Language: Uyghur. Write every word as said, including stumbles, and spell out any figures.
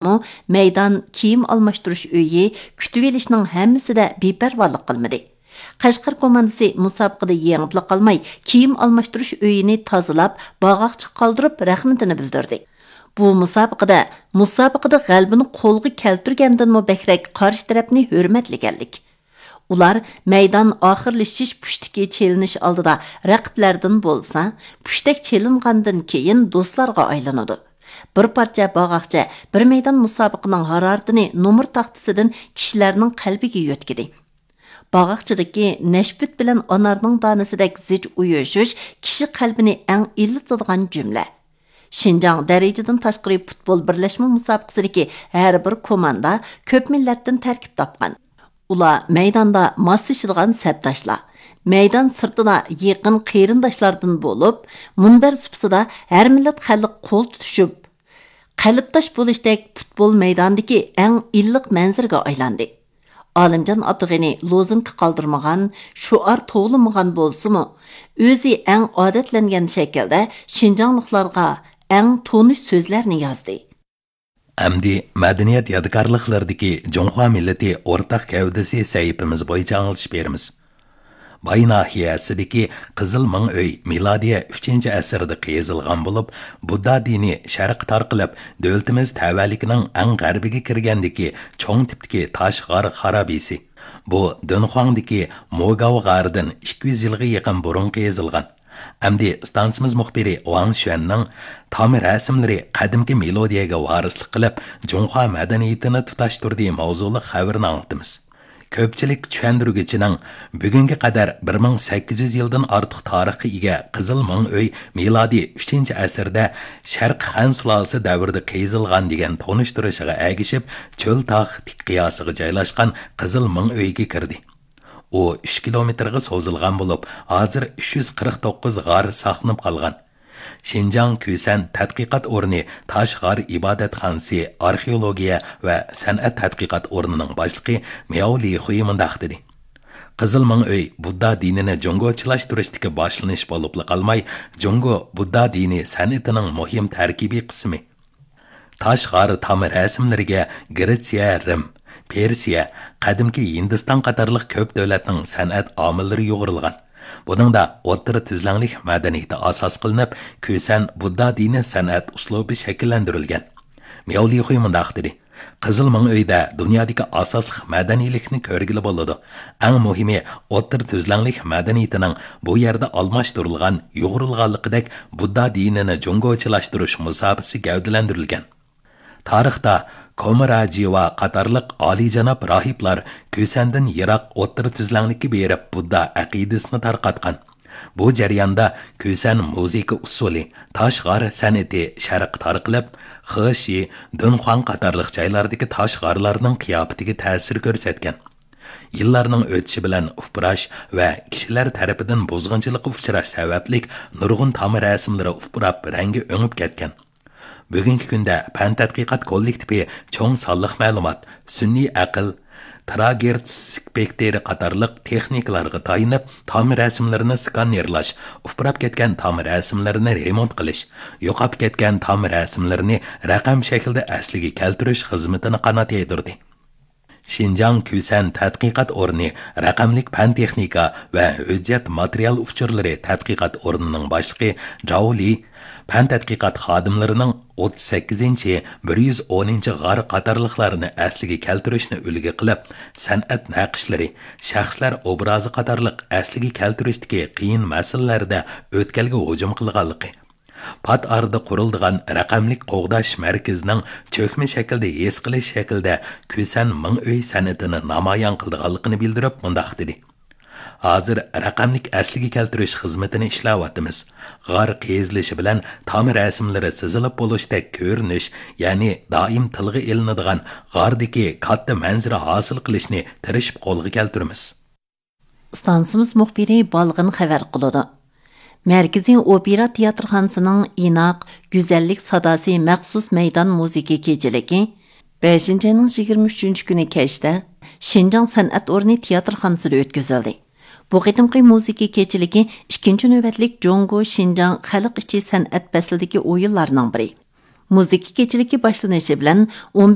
مەيدان، كىيىم ئالماشتۇرۇش ئۆيى، كۈتۈۋېلىشنىڭ ھەممىسىدە بىپەرۋالىق قىلمىدى. قەشقەر كوماندىسى مۇسابىقىدە يېڭىپلا قالماي، كىيىم ئالماشتۇرۇش ئۆيىنى تازىلاپ، باغاقچىغا قالدۇرۇپ رەھمىتىنى بىلدۈردى. بۇ مۇسابىقىدە، مۇسابىقىدە غەلىبىنى قولغا كەلتۈرگەندىنمۇ بەكرەك قارشى تەرەپنى ھۆرمەتلىگەنلىك. ئۇلار مەيدان ئاخىرلىشىش پۇشتىكى چېلىنىش ئالدىدا رەقىبلەردىن بولسا، پۇشتەك چېلىنغاندىن كېيىن دوستلارغا ئايلىنىدۇ. بىر پارچە باغاقچە، بىر مەيدان مۇسابىقىنىڭ ھارارىتىنى نومۇر تاختىسىدىن كىشىلەرنىڭ قەلبىگە يۆتكىدى. باغاقچىدىكى نەشپۈت بىلەن ئانارنىڭ دانىسىدەك زىچ ئۇيۇشۇش كىشى قەلبىنى ئەڭ ئىللىتىدىغان جۈملە. شىنجاڭ دەرىجىدىن تاشقىرى پۇتبول بىرلەشمە مۇسابىقىسىدىكى ھەر بىر كوماندا كۆپ مىللەتتىن تەركىب تاپقان. ئۇلار مەيداندا ماسلىشىدىغان سەپداشلار، مەيدان سىرتىدا يېقىن قېرىنداشلاردىن بولۇپ، مۇنبەر سۇپىسىدا ھەر مىللەت خەلق قول تۇتۇشۇپ، قەلبداش بولۇشتەك پۇتبول مەيدانىدىكى ئەڭ ئىللىق مەنزىرىگە ئايلاندى. ئالىمجان ئابدۇغېنى لوزۇنكا قالدۇرمىغان، شوئار توۋلىمىغان بولسىمۇ، ئۆزى ئەڭ ئادەتلەنگەن شەكىلدە شىنجاڭلىقلارغا ئەڭ تونۇش سۆزلەرنى يازدى. ئەمدى مەدەنىيەت يادىكارلىقلىرىدىكى جۇڭخۇا مىللىتى ئورتاق گەۋدىسى سەھىپىمىز بويىچە ئاڭلىتىش بېرىمىز. باي ناھىيەسىدىكى قىزىل مىڭ ئۆي مىلادىيە ئۈچىنچى ئەسىردە قېزىلغان بولۇپ، بۇددا دىنى شەرققە تارقىلىپ، دۆلىتىمىز تەۋەلىكىنىڭ ئەڭ غەربىگە كىرگەندىكى چوڭ تىپتىكى تاش غار خارابىسى. بۇ دۆنخۇاڭدىكى موگاۋ غارىدىن ئىككى يۈز يىلغا يېقىن بۇرۇن قېزىلغان. ئەمدى ئىستانسىمىز مۇخبىرى ۋاڭ شۈەننىڭ تام رەسىملىرى قەدىمكى مېلودىيەگە ۋارىسلىق قىلىپ، جۇڭخۇا مەدەنىيىتىنى تۇتاشتۇردى ماۋزۇلۇق خەۋىرىنى ئاڭلىتىمىز. كۆپچىلىك چۈشەندۈرگۈچىنىڭ بۈگۈنگە قەدەر بىر مىڭ سەككىز يۈز يىلدىن ئارتۇق تارىخقا ئىگە قىزىل مىڭ ئۆي مىلادىي ئۈچىنچى ئەسىردە شەرقىي خەن سۇلالىسى دەۋرىدە قېزىلغان دېگەن تونۇشتۇرۇشىغا ئەگىشىپ، چۆل تاغ تىك قىياسىغا جايلاشقان قىزىل مىڭ ئۆيگە كىردى. ئۇ ئۈچ كىلومېتىرغا سوزۇلغان بولۇپ، ھازىر ئۈچ يۈز قىرىق توققۇز غار ساقلىنىپ قالغان. شىنجاڭ كۈسەن تەتقىقات ئورنى تاش غار ئىبادەتخانىسى ئارخېئولوگىيە ۋە سەنئەت تەتقىقات ئورنىنىڭ باشلىقى مياۋ لىخۇي مۇنداق دېدى: قىزىل مىڭ ئۆي بۇددا دىنىنى جۇڭگوچىلاشتۇرۇشتىكى باشلىنىش بولۇپلا قالماي، جۇڭگو بۇددا دىنى سەنئىتىنىڭ مۇھىم تەركىبىي قىسمى. تاش غار تام رەسىملىرىگە گرېتسىيە، رىم، پېرسىيە، قەدىمكى ھىندىستان قاتارلىق كۆپ دۆلەتنىڭ سەنئەت ئامىللىرى يۇغۇرۇلغان. بۇنىڭدا ئوتتۇرا تۈزلەڭلىك مەدەنىيىتى ئاساس قىلىنىپ، كۈسەن بۇددا دىنىي سەنئەت ئۇسلۇبى شەكىللەندۈرۈلگەن. مياۋ لىخۇي مۇنداق دېدى: قىزىل مىڭ ئۆيدە دۇنيادىكى ئاساسلىق مەدەنىيلىكنى كۆرگىلى بولىدۇ. ئەڭ مۇھىمى، ئوتتۇرا تۈزلەڭلىك مەدەنىيىتىنىڭ بۇ يەردە ئالماشتۇرۇلغان، يۇغۇرۇلغانلىقىدەك بۇددا دىنىنى جۇڭگوچىلاشتۇرۇش مۇساپىسى گەۋدىلەندۈرۈلگەن. تارىختا كومراجىۋا قاتارلىق ئالىيجاناب راھىبلار كۈسەندىن يىراق ئوتتۇرا تۈزلەڭلىككە بېرىپ بۇددا ئەقىدىسىنى تارقاتقان. بۇ جەرياندا كۈسەن مۇزىكا ئۇسسۇلى، تاش غار سەنئىتى شەرققە تارقىلىپ، خېشى، دۇنخۇاڭ قاتارلىق جايلاردىكى تاش غارلارنىڭ قىياپىتىگە تەسىر كۆرسەتكەن. يىللارنىڭ ئۆتۈشى بىلەن ئۇپراش ۋە كىشىلەر تەرىپىدىن بۇزغۇنچىلىققا ئۇچراش سەۋەبلىك نۇرغۇن تام رەسىملىرى ئۇپراپ، رەڭگى ئۆڭۈپ كەتكەن. بۈگۈنكى كۈندە پەن تەتقىقات كوللېكتىپى چوڭ سانلىق مەلۇمات، سۈنئىي ئەقىل، تېراگېرتس سپېكتىرى قاتارلىق تېخنىكىلارغا تايىنىپ، تام رەسىملىرىنى سكانېرلاش، ئۇپراپ كەتكەن تام رەسىملىرىنى رېمونت قىلىش، يوقاپ كەتكەن تام رەسىملىرىنى رەقەم شەكلىدە ئەسلىگە كەلتۈرۈش خىزمىتىنى قانات يايدۇردى. شىنجاڭ كۈسەن تەتقىقات ئورنى رەقەملىك پەن تېخنىكا ۋە ھۆججەت ماتېرىيال ئۇچۇرلىرى تەتقىقات ئورنىنىڭ باشلىقى جاۋ لى پەن تەتقىقات خادىملىرىنىڭ ئوتتۇز سەككىزىنچى، بىر يۈز ئونىنچى غار قاتارلىقلارنى ئەسلىگە كەلتۈرۈشنى ئۈلگە قىلىپ، سەنئەت نەقىشلىرى، شەخسلەر ئوبرازى قاتارلىق ئەسلىگە كەلتۈرۈشتىكى قىيىن مەسىلىلەردە ئۆتكەلگە ھۇجۇم قىلغانلىقى، پات ئارىدا قۇرۇلىدىغان رەقەملىك قوغداش مەركىزىنىڭ چۆكمە شەكىلدە ھېس قىلىش شەكلىدە كۈسەن مىڭ ئۆي سەنئىتىنى نامايان قىلىدىغانلىقىنى بىلدۈرۈپ مۇنداق دېدى: ھازىر رەقەملىك ئەسلىگە كەلتۈرۈش خىزمىتىنى ئىشلەۋاتىمىز. غار قېزىلىشى بىلەن تام رەسىملىرى سىزىلىپ بولۇشتەك كۆرۈنۈش، يەنى دائىم تىلغا ئېلىنىدىغان غاردىكى كاتتا مەنزىرە ھاسىل قىلىشنى تىرىشىپ قولغا كەلتۈرىمىز. ئىستانسىمىز مۇخبىرى بالغىن خەۋەر قىلىدۇ. مەركىزىي ئوپېرا تىياتىرخانىسىنىڭ ئىناق، گۈزەللىك ساداسى مەخسۇس مەيدان مۇزىكا كېچىلىكى بەشىنچى ئاينىڭ يىگىرمە ئۈچىنچى كۈنى كەچتە شىنجاڭ سەنئەت ئورنى تىياتىرخانىسىدا ئۆتكۈزۈلدى. بۇ قېتىمقى مۇزىكا كېچىلىكى ئىككىنچى نۆۋەتلىك جۇڭگو شىنجاڭ خەلق ئىچى سەنئەت پەسلىدىكى ئويۇنلارنىڭ بىرى. مۇزىكا كېچىلىكى باشلىنىشى بىلەن ئون